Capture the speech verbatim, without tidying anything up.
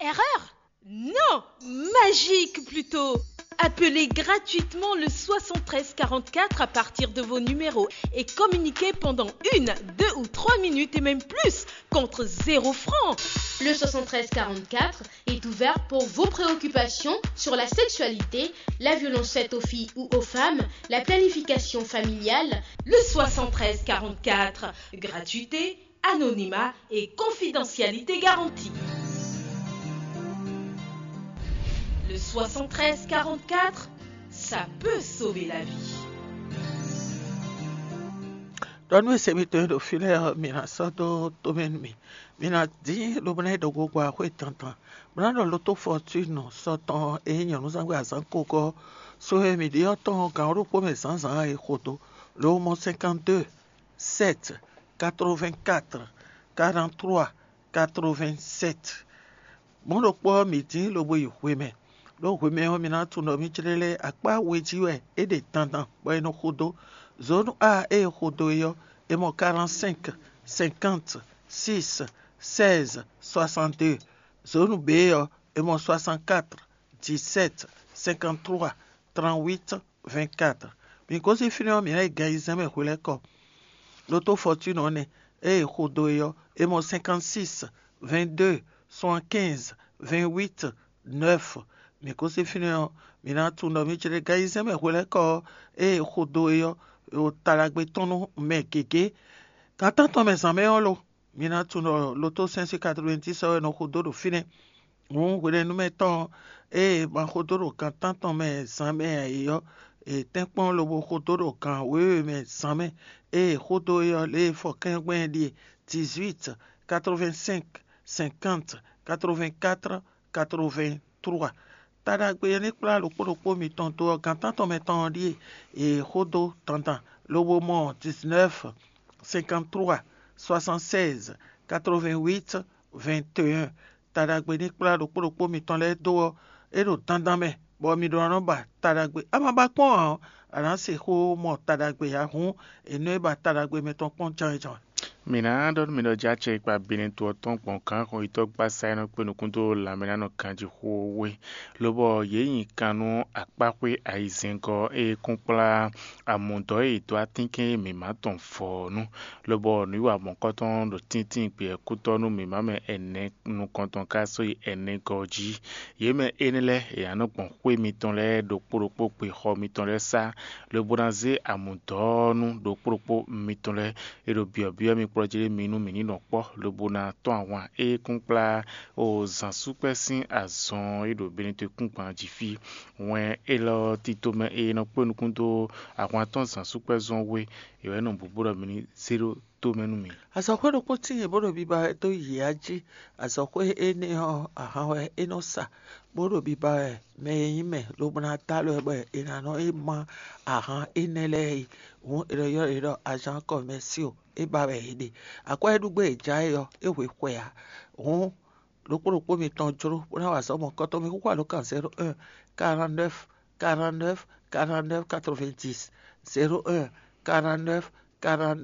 Erreur? Non, magique plutôt. Appelez gratuitement le soixante-treize quarante-quatre à partir de vos numéros et communiquez pendant une, deux ou trois minutes et même plus contre zéro franc. Le soixante-treize quarante-quatre est ouvert pour vos préoccupations sur la sexualité, la violence faite aux filles ou aux femmes, la planification familiale. Le soixante-treize quarante-quatre, gratuité, anonymat et confidentialité garantie. Le soixante-treize quarante-quatre, ça peut sauver la vie. Ɖɔ nú ese mitɔn e ɖo fí lɛ́ɛ ɔ́, mi ná sɔ́ dó tomɛ nú mì. Mi ná dín lobo ná yi ɖo gogo axwé dandan, bó ná ɖɔ lótó fɔtúnu sɔ́ tɔn e nyí nyɔ̌nuzángbe azǎn kogɔ́ so e mǐ ɖe ɔ́ tɔn gǎn ɖokpó mɛ zǎnzǎn e xo dó, lo mɔ cinquante-deux, sept, quatre-vingt-quatre, quarante-trois, quatre-vingt-sept. Mɔ̌ ɖokpó ɔ́, mǐ dín lobo yi hwemɛ, ɖó hwemɛ ɔ́, mi ná tunwun ɖɔ mì jlɛ́ lɛ́ɛ akpá we jí wɛ é ɖe dandan bɔ è nɔ xo dó. Zǒnu A e è xo dó é ɔ́, è mɔ quarante-cinq, cinquante, six, seize, soixante-deux. Zǒnu B ɔ́, è mɔ soixante-quatre, dix-sept, cinquante-trois, trente-huit, vingt-quatre. Mi gosín fínɛ́ ɔ́, mǐ ná yi gan ayizɛ́n mɛ hwelɛ́kɔ. Lotó Fɔtúnu ɔ́ nɛ́, ée è xo dó é ɔ́, è mɔ cinquante-six, vingt-deux, soixante-quinze, vingt-huit, neuf. Mi gosín fínɛ́ ɔ́, mi ná tunwun ɖɔ mi jlɛ́ gan ayizɛ́n mɛ hwelɛ́kɔ ɔ́, ée è xo dó é ɔ́, ɖo taɖagbe tɔn nú mɛ gěgé. Gan tántɔn mɛ zǎn mɛ ɔ́ lo, mi ná tunwun ɖɔ lotó sɛ́n sín quatre-vingt-dix ɔ́ wɛ nɔ xo dó ɖo fínɛ́. Hǔn hwenɛ́númɛ tɔn ée ma xo dó ɖo gan tántɔn mɛ zǎn mɛ ǎ é ɔ́, è tɛ́nkpɔ́n lobo xo dó ɖo gan wěwe mɛ zǎn mɛ. Ée è xo dó é ɔ́, lě e fɔkɛ́ngbɛ́n ɛ ɖíe: dix-huit, quatre-vingt-cinq, cinquante, quatre-vingt-quatre, quatre-vingt-trois. Taɖagbe e ní kplá ɖokpó ɖokpó mitɔn dó ɔ́, gan tántɔn mɛ tɔn ɔ́ ɖíe è xo dó dandan, lobo mɔ dix-neuf, cinquante-trois, soixante-seize, quatre-vingt-huit, vingt et un. Taɖagbe ní kplá ɖokpó ɖokpó mitɔn lɛ́ɛ dó ɔ́, é ɖo dandan mɛ, bɔ mi ɖó ná nɔ ba taɖagbe. A ma ba kpɔ́n ǎ ɔ́, a nǎ sixú mɔ taɖagbe ǎ. Hǔn è nɔ e ba taɖagbe mitɔn kpɔ́n jánján. Mǐ ná ɖɔ nú mi ɖɔ jɛ acɛ e kpa Benɛto ɔ́ tɔn gbɔn gǎn xɔnyitɔ́ gbasa e nɔ kpé nukún dó lanmɛ ná nɔ ganjí xó we, lobɔ yě nyi kan nú akpáxwé ayizɛ́ngɔ́ e kún kplá amǔdɔ́ e è dó atínkɛn e mǐ ma tɔn vɔ ɔ́ nu, lobɔ nǔwiwa mɔ̌kɔtɔn ɖo tíntín gbeyɛ́kútɔ́ nú mǐmá mɛ ɛnɛ nukɔntɔn ka sɔ́yi ɛnɛgɔ́ jí. Yě mɛ énɛ́ lɛ́ɛ, è nǎ nɔ gbɔn xwé mitɔn lɛ́ɛ ɖokpó ɖokpó gbe xɔ mitɔn lɛ́ɛ sá, lobo ná zé amǔdɔ́ ɔ́ nú ɖokpó ɖokpó mitɔn lɛ́ɛ. È ɖo byɔ̌byɔ́ mi kplɔ́ jí ɖé mi nú mǐ ní nɔ kpɔ́, lobo ná tɔ́n ahwan e kún kplá o zǎnsúkpɛ́ sín azɔn e ɖo Benɛto kúngban jí fí. Wɛn élɔ́ tito mɛ e nɔ kpé nukún dó ahwan tɔn zǎnsúkpɛ́ zɔn we, è wɛ nɔ bǔbú ɖɔ mi ní zé ɖó tó mɛ nú mi. Azɔ̌xwé ɖokpó tíin bó ɖo biba wɛ dó yě jí. Azɔ̌xwé énɛ́ ɔ́, ahan wɛ é nɔ sa, bó ɖo biba wɛ mɛ e nyí mɛ lobo ná dó alɔ ɛ bɔ è nǎ nɔ é má ahan énɛ́ lɛ́ɛ é. Hǔn è nɔ ylɔ́ yě ɖɔ azǎn kɔmɛsío, é ba wɛ è ɖe. Akwɛ́ e ɖu gbé è já é ɔ́, é hwe xwɛ ǎ. Hǔn ɖokpó ɖokpó mitɔn jló bó ná wa azɔ̌ mɔ̌kɔtɔn. Mi xúxú alǒkan zéro un, quarante-neuf, quarante-neuf, quarante-neuf, quatre-vingt-dix, zéro un, quarante-neuf, quarante